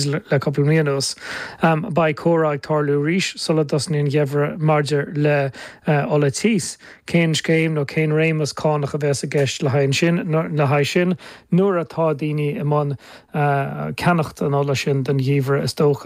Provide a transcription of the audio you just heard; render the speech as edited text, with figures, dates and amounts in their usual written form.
Le cúpla mí anuas, beidh comhrá ag tarlú arís sula dtosnaíonn an geimhreadh maidir le ola tíos. Cén scéim nó cén réimeas cánach a bheas i gceist le haghaidh sin, le haghaidh sin nuair atá daoine i mbun ceannacht an ola sin don gheimhreadh is dócha.